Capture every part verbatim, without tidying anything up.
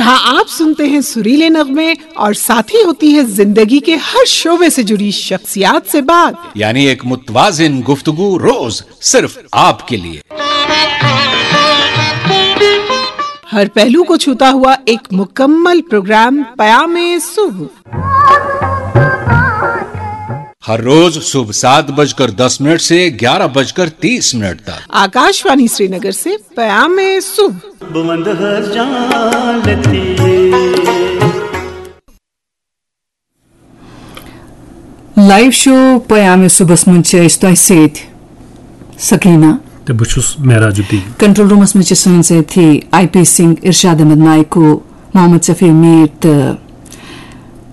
हाँ, आप सुनते हैं सुरीले नगमे और साथ ही होती है जिंदगी के हर शोबे से जुड़ी शख्सियात से बात। यानी एक मुतवाजिन गुफ्तगू रोज सिर्फ आपके लिए। हर पहलू को छूता हुआ एक मुकम्मल प्रोग्राम पयामे सुबह। हर रोज सुबह सात बजकर दस मिनट से ग्यारह बजकर तीस मिनट तक। आकाशवाणी श्रीनगर से पयामे सुबह। لایو شو پیام صبحس منٛز چھِ أسۍ تۄہہِ سۭتۍ سکینہ۔ تہٕ بہٕ چھُس معراج الدین۔ کنٹرول رومس منٛز چھِ سٲنۍ سٲتھی آئی پی سنگھ، ارشاد احمد نائیکو، محمد شفیع میر تہٕ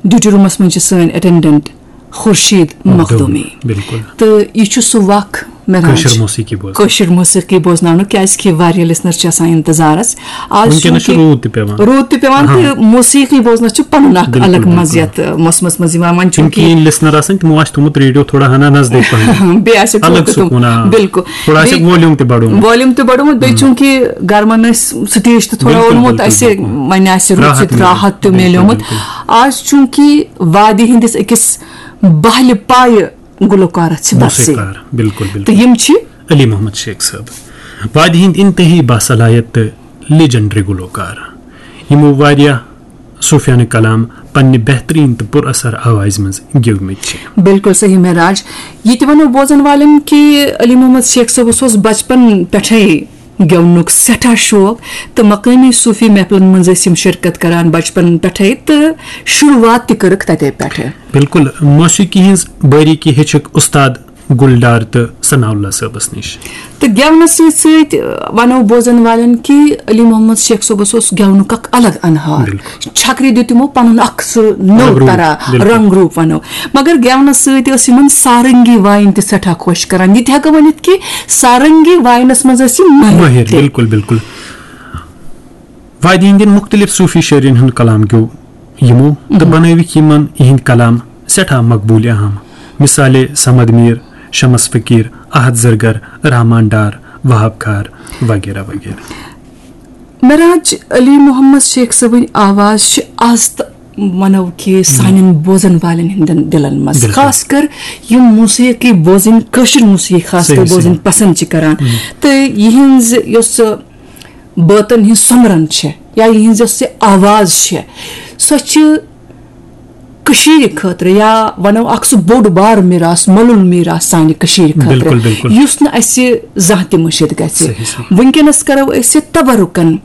ڈیوٹی رومس منٛز چھِ سٲنۍ اٹینڈنٹ خورشید مخدومی۔ بِلکُل۔ تہٕ یہِ چھُ سُہ وق مےٚ کٲشِر موسیقی بوزنہٕ۔ کٲشِر موسیقی بوزناونُک، کیازِ کہِ واریاہ لسنر چھِ آسان انتظارس۔ آز وٕنکیٚنس چھُ چوٗنٛکہِ روٗد تہِ پٮ۪وان۔ روٗد تہِ پٮ۪وان تہٕ موسیقی بوزنس چھُ پنُن اکھ بِلکُل، الگ بِلکُل۔ مزٕ یتھ موسمس منٛز یِوان۔ وۄنۍ تِم چوٗنٛکہِ کِہیٖنۍ لسنر آسان، تِمو آسہِ تھوٚمُت ریڈیو تھوڑا ہنا نزدیٖک پہم۔ بیٚیہِ آسہِ الگ سکوٗن، آ۔ بِلکُل۔ تھوڑا آسہِ بیٚیہِ volume تہِ بڑومُت۔ Volume تہِ بڑومُت، بیٚیہِ ہُم۔ چوٗنٛکہِ گرمن ٲسۍ stage تہِ تھوڑا بِلکُل، اوٚنمُت بِلکُل، اَسہِ، بِلکُل۔ وۄنۍ آسہِ رُت راحت سۭتۍ مِلیو۔ راحت تہِ بِلکُل، مِلیومُت۔ بِلکُل۔ آز چوٗنٛکہِ وادی ہٕنٛدِس أکِس بہلہِ پایہِ گلوکارس چھِ بدسٕے۔ موسیقار، بِلکُل، بِلکُل۔ تہٕ یِم چھِ علی محمد شیخ صٲب، وادی ہٕنٛدۍ انتہٲیی باصلاحیت تہٕ legendary گلوکار، یِمو واریاہ صوفیانہٕ کلام پننہِ بہترین تہٕ پُر اثر آوازِ منٛز گیومٕتۍ چھِ۔ بِلکُل صحیح معراج۔ یہِ تہِ ونو بوزن والٮ۪ن کہِ علی محمد شیخ صٲبس اوس بچپن پٮ۪ٹھے گٮ۪ونُک سٮ۪ٹھاہ شوق، تہٕ مقٲمی صوفی محفلن منٛز ٲسۍ یِم شرکت کران بچپن پٮ۪ٹھے، تہٕ شروعات تہِ کٔرٕکھ تتے پٮ۪ٹھٕ۔ بِلکُل، موسیقی ہٕنٛز بٲریٖکی ہیٚچھکھ اُستاد گُلڈار تہٕ ثناء اللہ صٲبس نِش۔ تہٕ گٮ۪ونس سۭتۍ سۭتۍ، آ، ونو بوزن والٮ۪ن کہِ علی محمد شیخ صٲبس اوس گٮ۪ونُک اکھ الگ انہار۔ بِلکُل۔ چھکرِ دیُت تِمو پنُن اکھ سُہ نوٚو الگ روٗپ، طرح، بِلکُل۔ رنگ روٗپ ونو۔ مگر گٮ۪ونس سۭتۍ ٲس یِمن سارنگی وایِنۍ تہِ سٮ۪ٹھاہ خۄش کران۔ یہِ تہِ ہٮ۪کو ؤنِتھ کہِ سارنگی وایِنس منٛز ٲسۍ یِم مٲہِر مٲہِر، تہِ۔ بِلکُل، بِلکُل۔ وادی ہٕنٛدٮ۪ن مُختٔلِف صوٗفی شٲعرن ہُنٛد کلام گیوو یِمو تہٕ مم۔ بنٲوِکھ یِمن یِہِنٛدۍ کلام سٮ۪ٹھاہ مقبوٗلِ عام۔ مثالے صمد میٖر، شمس فقیٖر، احد زرگر، رحمان ڈار، وہاب کھار وغیرہ وغیرہ۔ معراج، علی محمد شیخ صٲبٕنۍ آواز چھِ آز تہٕ ونو کہِ سانٮ۪ن بوزن والٮ۪ن ہٕنٛدٮ۪ن دِلن منٛز، بِلکُل۔ خاص کر یِم موسیقی بوزٕنۍ، کٲشِر موسیقی خاص کر صحیح، بوزٕنۍ صحیح۔ پسند چھِ کران۔ ہم۔ تہٕ یِہنٛز یۄس سۄ بٲتن ہٕنٛز سۄمرن چھےٚ یا یِہنٛز یۄس یہِ آواز چھےٚ، سۄ چھِ کٔشیٖرِ خٲطرٕ یا ونو اکھ سُہ بوٚڑ بار میراث، مۄلُل میراث سانہِ کٔشیٖرِ خٲطرٕ، بِلکُل، بِلکُل۔ یُس نہٕ اَسہِ زانٛہہ تہِ مٔشِتھ گژھِ۔ صحیح، صحیح۔ وٕنکیٚنس کرو أسۍ تبرکن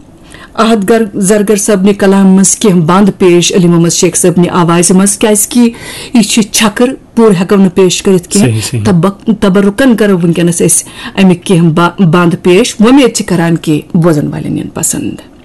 احد گر-، زرگر صٲبنہِ کلامہِ منٛز کینٛہہ بند پیش علی محمد شیخ صٲبنہِ آوازِ منٛز، کیازِ کہِ یہِ چھِ چھکٕر، پوٗرٕ ہٮ۪کو نہٕ پیش کٔرِتھ کینٛہہ۔ صحیح، صحیح۔ تبک-، تبرکن کرو وٕنکیٚنس أسۍ اَمِکۍ کینٛہہ با-، بند پیش۔ وۄمید چھِ کران کہِ بوزن والٮ۪ن یِن پسند۔